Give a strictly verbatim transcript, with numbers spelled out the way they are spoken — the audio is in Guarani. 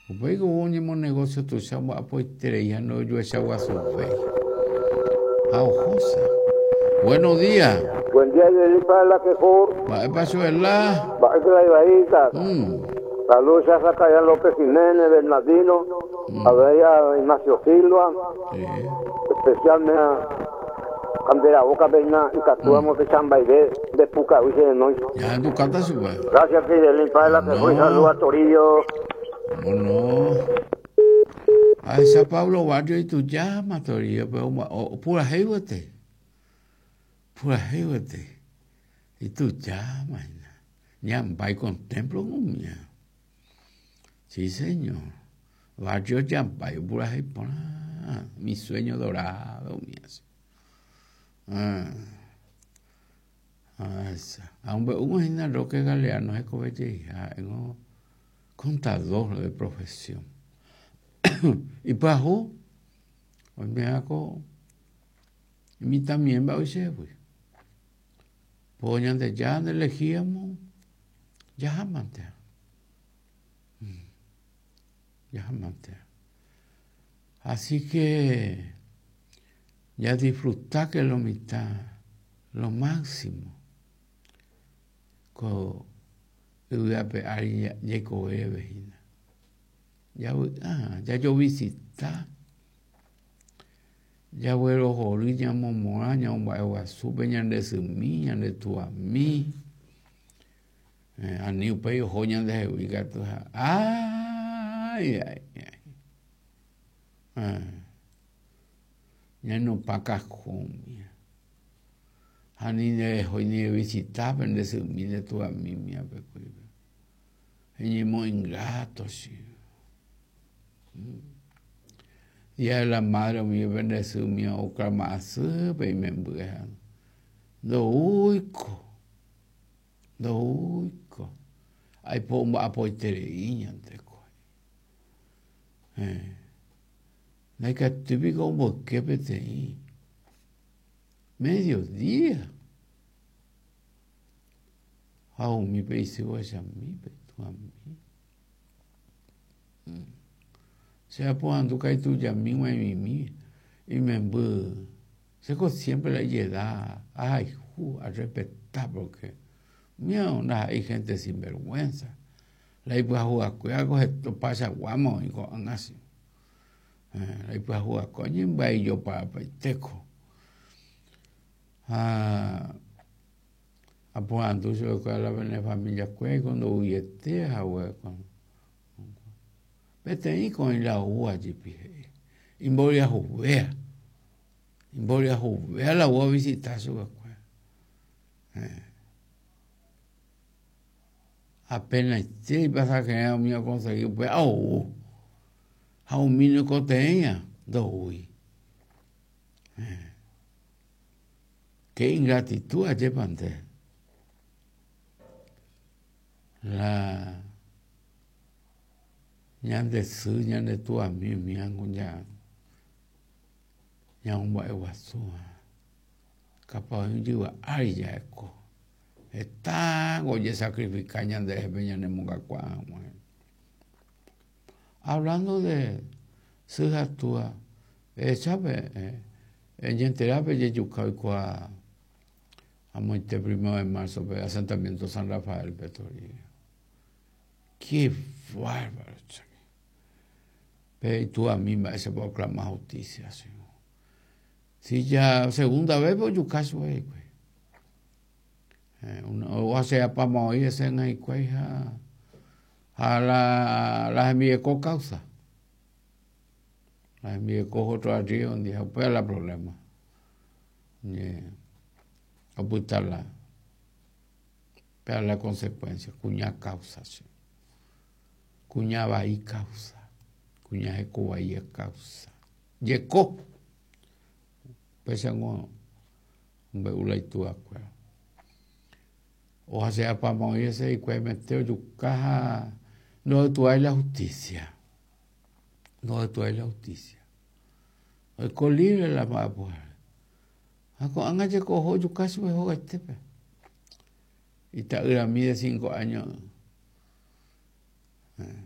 Upéi ko oñemonegocio tuicha omba'apoiterei ha ndojuechaguasuvéi. Ha ohósa. Buenos días. Buen día, Yeli, para la quejó. Mba'épa Chuela. Mba'épa la Ibaíta. Mm. Saludos a Zacarías López Jiménez, Bernardino, a ver a Ignacio Silva, Sí. especialmente a Candela Boca Peña y Catúamo de Chambaide de Pucahuiche de noche. Ya en tu canta sube. Gracias, Fidelín, para la quejó y No. saludos a Torillo. ¿Cómo no? A esa Pablo Barrio y tú llamas, Torillo, pero o, pura jeúete. Pura jeúete. Y tú llamas. Ñambay contemplo mía. Sí, señor. Barrio Yambay, pura jei Mi sueño dorado, mía. Ah. Ah, esa. Aunque un hína Roque Galeano es hija, contador de profesión. Y pyahu, oimeháko imitãmiémba oichévy. Po Ñandejára ndelegíamo jahámante. Jahámante. Así que ya disfruta que lo mitad, lo máximo. Ko yvy'ape ári jaikovéve hína. Javy'a, jajovisita, jaguerohory ñamomorã ñamomba'eguasúpe ñande symi, ñande tuami. Eh, ani upéi oho ñandehegui katu ha ay, ay, ay. Eh, ñanupã kajõmi. Ha ni nderehói ni revisitápe nde symi nde tuami miapekuépe. Eñemo ingrato che. Día de la Madre umi nde sy umi okrama asýpe imemby ndoúiko, ndoúiko. Aipo omba'apoiterei ñandeko. Eh. Ndaikatúipiko omboyke peteĩ mediodía. Ha umi pe isy ohechamípe tuami. Che aporandu itujami g̃uaig̃uimi imemby chéko siempre la ijedad ahayhu arespeta porque umíva ndaha'éi gente sinvergüenza. La ipyahuvakuéra opaichaguáma oĩ ko'ág̃a che. La ipyahuvakuéra oñembyaijoparapaitéko. Ha aporandu chupekuéra la pene familiakuéra ndouiete hague peteĩko oĩ la oúva jepi he'i imboriahuvéa imboriahuvéa la ou ovisita chupekuéra. Eh. Apenaite ipasajerã umi okonsegui upéva ou ha umi noikotevẽiva ndoúi. Eh. Qué ingratitud ajépa nde. La ñande sy ñande tuami umívango ña ñamomba'eguasúva capaz oĩ jyva ári ja'eko hetángo ojesacrifica ñanderehe ñanemongakuaa hag̃ua. Hablando de sy ha túa ehechápe eñenterápe jejuka oikuaa amoite primero de marzo pe asentamiento San Rafael-pe Toribio. Qué bárbaro chami. Pe ituami mba'éichapa oclama justicia che. Si ya segunda vez ojuka chupe hikuái. Eh, ohacheapáma oĩ hese hikuái ha ha la, la hembireko causa. La hembireko otro arriba ha upéva la problema. Ñe opyta la upéva la consecuencia kuña causa che. Kuña vai causa. Kuña heko vai causa. Jeko. Upéichango omombe'u la ituakuéra. Ohacheapáma oĩ hese hikuái mete ojuka ha ndoytuái la justicia. Ndoytuái la justicia. Oiko libre la mba'apohára. Ha ko'ág̃a jeko oho ojuka chupe hogaitépe. Ita'yrami de cinco años. Eh.